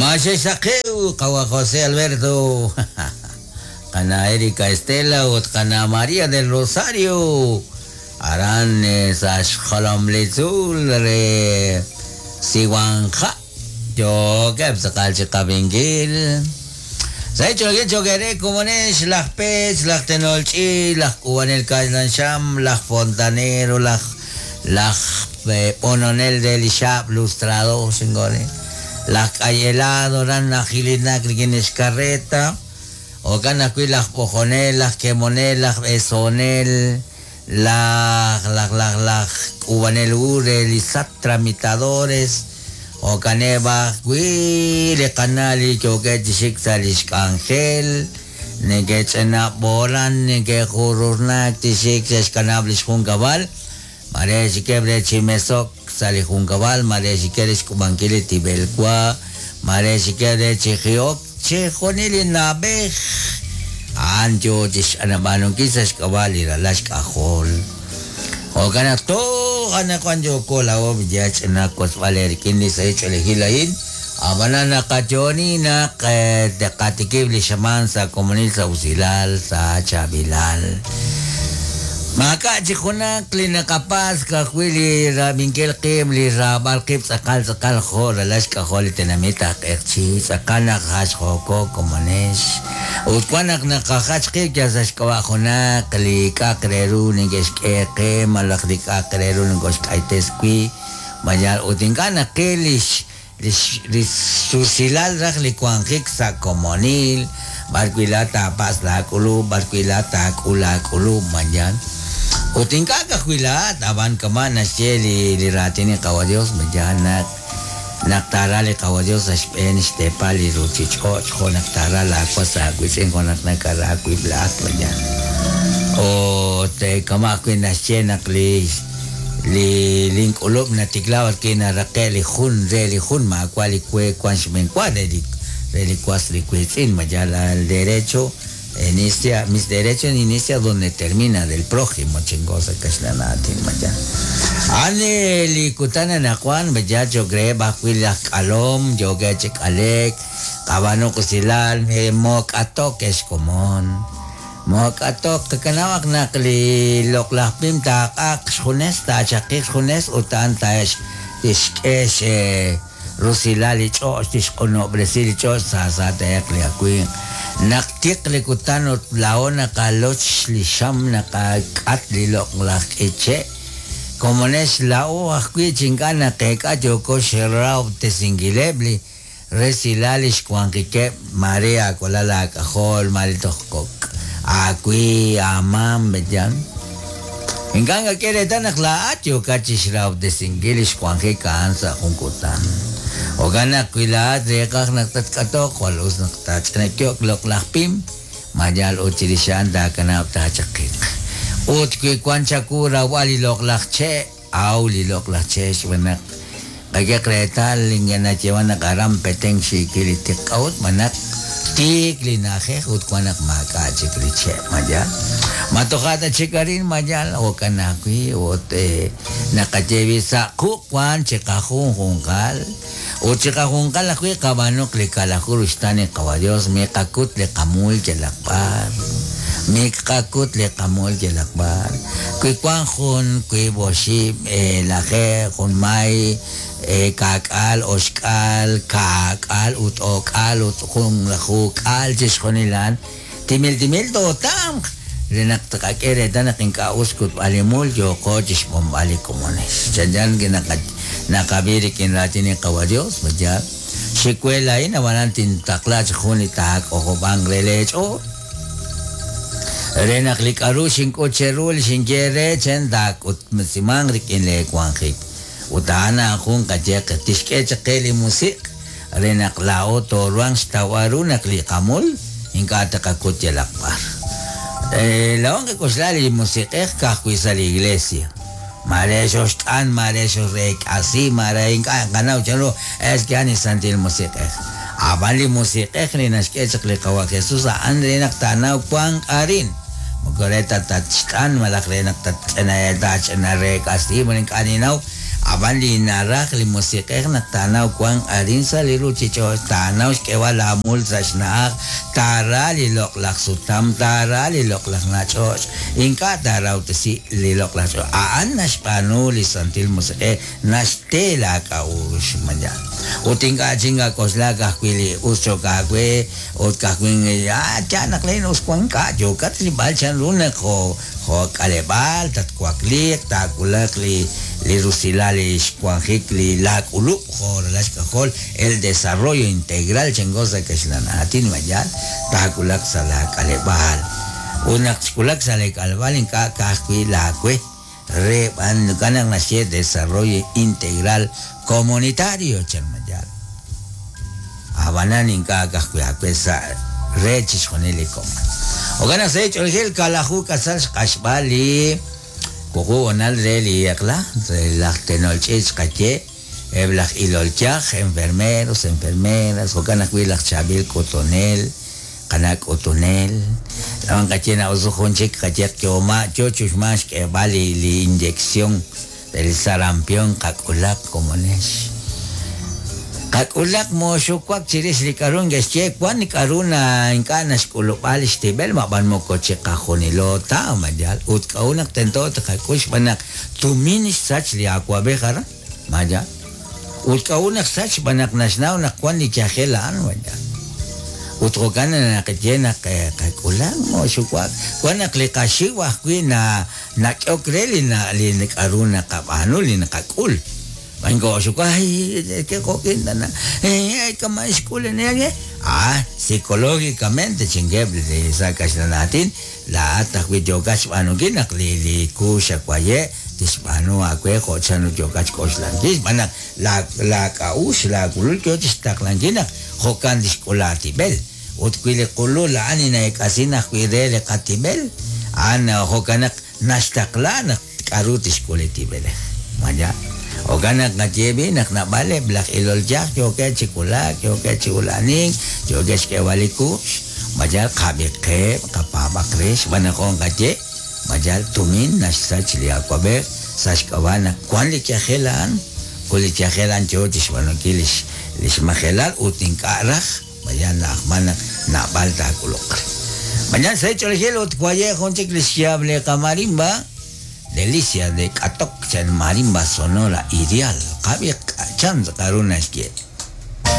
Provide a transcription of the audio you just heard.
Maxexaqew qawa José Alberto, qana Erika Estela ut qana María del Rosario aran sa' xjolom li tzuul re Siwanja' yookeb' tz'aqal chi qab'inkil. Sa' ch'oolil cho'q eere komonex, laj Pech, laj tenol ch'iich', laj k'uub'anel kaxlan xam, laj fontanero, laj laj b'ononel re li xaab' lustrado, xingoore, laj k'ay helado ran najilinak rik'in li xkarreta, jo'kan ajwi' laj b'ojonel, laj kemonel, laj b'esonel, laj laj laj laj k'uub'anel hu re li SAT tramitadores, jo'kaneb' ajwi' li qana' li yookeb' chi xik sa' li xk'anjel, neke'ch'ina b'oolan, neke'jururnak chi xik xe'xkanab' li xjunkab'al, mare xikeb' re chi mesok sa' li junkab'al, mare xikeb' re xk'ub'ankil li tib'el wa, mare xikeb' re chi ji'ok, chixjunil li na'b'ej a'an yo chi xch'anab'aanunkil sa' xk'ab'a' li ralal xk'ajol. Jo'kan naq toj anaqwan yooko laa'o ya ch'ina wotzb'al eerik'in li sahil ch'oolejil a'in, ab'anan naqayo'oni naq tqatikib' li xamaan sa' komonil sa' usilal, sa' chaab'ilal. Maak'a' chik junaq li naqapatz' ka'ajwi' li rab'inkil qib', li raab'al qib' tz'aqal tz'aqal jo' ralal xk'ajol li tenamit aj q'eqchi', tz'aqal naq jachjooko komonex. Ut wan naq naqajach qib' yal sa' xk'ab'a' junaq li k'a'aq re ru neke'xk'e qe malaj li k'a'aq re ru nokoxk'aytes wi', mayal ut ink'a' naqil lix lix li rusilal raj li wanjik sa' komonil, b'ar wi' laa'at taapatz' laak'ulub', b'ar wi' laa'at taak'ul laak'ulub', mayal ut ink'a' ka'ajwi' laa'at, ab'an kama' naxye li li raatin li Qawa' Dios, mayal naq Naq taara li Qawa' Dios sa' xb'een xteepal li ruchich'och' jo' naq taara laawas aawiitz'in jo' naq nakara aawib' laa'at, mayan. Ut kama' ajwi' naxye naq li li link'ulub' natikla b'arwi' naraqe' li jun re li jun maawa' li we wan xb'eenwa re li re li was li wiitz'in, mayan el derecho Inicia, mis derecho inicia donde termina del prójimo, chingo sa' kaxlan aatin mayan. A'an li kutan anaqwan mayan cho'q reheb' ajwi' laj k'alom yookeb' chi k'alek, qab'aanuq usilal, mook'atok ex komon, mook'atok, qakanab'aq naq li loq'laj pim taaq'aq xjunes, taachaqiq xjunes ut a'an tixk'e Rusilal li ch'och' tixq'unob'resi li ch'och' sa sa te'eq li awimq. Naq tiq li kutan ut laa'o naqaloch li xam naqak'at li loq'laj k'iche', komonex laa'o ajwi' chi ink'a' naqeek'a yooko xrahob'tesinkileb' li resilal li xwanjikeb' maare aawalal aak'ajol, maare toj kok' aawi, aamam, b'eyan. Ink'a' nakak'e reetal naq laa'at yookat chi xrahob'tesinkil li xwanjik a'an sa' jun kutan. Jo'kan naq wi laa'at reeqaj naq tatk'atoq, jwal us naq taach'inakyo'k loq'laj pim, ma yal ut chirix a'an taakanab' taachaqiq. Ut wi wan chawu rawb'al li loq'laj che', aw li loq'laj che' xb'aan naq qak'eq reetal ink'a' nayeeman naq aran Petén xiikil li tiq k'a'ut xb'aan naq tiik li na'ajej ut wan naq maak'a' chik li che' ma yaal? Ma toja' ta chik arin ma yaal? Jo'kan ajwi' ut naqaye wi' sa' quq' wan chiqajunjunqal ut chiqajunqal ajwi' qab'aanuq li kalaju ruxtaan li Qawa' Dios miqakut li qamuul yalaq b'ar miqakut li qamuul yalaq b'ar Wi wank jun, wiib' oxib', lajeeb', junmay, kaak'aal, oxk'aal, kaak'aal ut o'k'aal ut junlajuuk'aal chixjunil a'an, timil timil tootamq re naq tqak'e reetal naq ink'a' us xkutb'al li mul yooqo chi xb'onb'al li komonex. Chanchan naqab'i rik'in raatin li Qawa' Yos, ma yaal? Xik we laa'in, ab'anan tintaqla chaq jun li taak'ojob'anq re leech'ool. Re naq li k'a'ru xink'ut cheru li xinye eere chen taak'utb'esimanq rik'in lee wanjik. Ut a'an a'an jun qayeq tixk'e chaq qe li Musiq' re naq laa'o tooruhanq xtawb'al ru naq li qamul ink'a' taqakut yalaq b'ar. Laa'o nqak'oxla li Musiq'ej ka'ajwi' sa' li iglesia. Maare xoxt'an, maare xoreek'asi, maare ink'a' nqanaw chanru es que a'an li Santil Musiq'ej. A'b'an li Musiq'ej li naxk'e chaq li Qawa' Jesus a'an re naq taanaw wank arin, moko re ta tatxt'an malaj re naq tatch'ina taach'ina reek'asi, moko ink'a' ninnaw. Ab'an li naraj li Musiq'ej naq taanaw wank arin sa' li ruuchich'och', taanaw xk'eeb'al laamul sa' xna'aj, taara li loq'laj sutam, taara li loq'laj nach'och', ink'a' taarawtesi li loq'laj ch'och'. A'an naxb'aanu li Santil Musiq'ej, naxte laak'a'uxl mañana. Ut ink'a' chik nak'oxla ka'ajwi' li us cho'q aawe ut ka'ajwi' ah, yaal naq len us wank, ink'a' yookat rilb'al chanru naq jo' Jo' k'aleb'aal tatwakliiq, taawulaq li li rusilal li xwanjik li laak'ulub' jo' ralal xk'ajol, el desarrollo integral chanko sa' kaxlan aatin ma yaal, taawulaq sa' laak'aleb'aal. Ut naq xwulak sa' leek'aleb'aal ink'a' ka'ajwi' laawe, re b'an jo'kan naq naxye desarrollo integral comunitario chan ma yaal. Ab'anan ink'a' ka'ajwi' aawe sa' re chixjunil li komon. Jo'kan naq sa' li ch'oolejil kaalaju k'asal xq'axb'al li wuqub' honal re li eq'la, re laj tenol ch'iich' xqaye, eb' laj ilol yaj, enfermeros, enfermeras, jo'kan ajwi' laj chaab'il k'utunel, qana' k'utunel. Laa'o nqaye naq us jun chik qayeq yooma yo chuxmank xk'eeb'al li inyección Re li sarampion qak'ulaq, komonex. Qak'ulaq mooxuwak chirix li k'a'ru neke'xye, wan li k'a'ru na ink'a' naxk'ulub'a lix tib'el, mab'an moko chiqajunilo ta, ma yaal? Ut k'a'ut naq tento taqak'ul xb'aan naq tumin xsach li awa'b'ej aran, ma yaal? Ut k'a'ut naq xsach xb'aan naq naxnaw naq wan li yajel a'an, ma yaal? Ut jo'kan naqaye naq qak'ulaq mooxuwak, wan naq li qaxiw ajwi' na Nak'ehok re li li k'a'ru naqab'aanu, li naqak'ul. Ma ink'oxuka, ay, ke jo'kin tana, ay, kama' xk'ul li Ah, psicológicamente chinkeb' li sa' kaxlan aatin, laa'at ajwi' yookat xb'aanunkil naq li li kuux xawaye' tixb'aanu aawe jo' chanru yookat xk'oxlankil, xb'aan naq laa laak'a'uxl, laawulul yoo chixtaqlankil naq jo'kan tixk'ul laatib'el. Ut wi li qulul a'an li na'eek'asin ajwi' re li qatib'el, a'an jo'kan naq naxtaqla naq k'a'ru tixk'ul li tib'elej. Ma yaal? Jo'kan naq qaye b'i' naq naab'aleb' laj ilol yaj yookeb' chi wulak, yookeb' chi ula'anink, yookeb' xk'eeb'al li kuux. Ma yaal? Qab'iqeb', qapaab'aq re, xb'aan naq jo' nqaye, ma yaal, tumin naxsach li awa'b'ej sa' xk'ab'a' naq wan li yajel a'an, ut li yajel a'an yoo chixb'aanunkil lix lix majelal ut ink'a' raj. Mañan na'ajman naq naab'al taak'uluq re. Mañan sa' ch'oolejil ut waye' jun chik li xyaab' li qamarimba, Delicia de k'atok chan marimba sonora ideal. Qab'i chan k'a'ru naxye.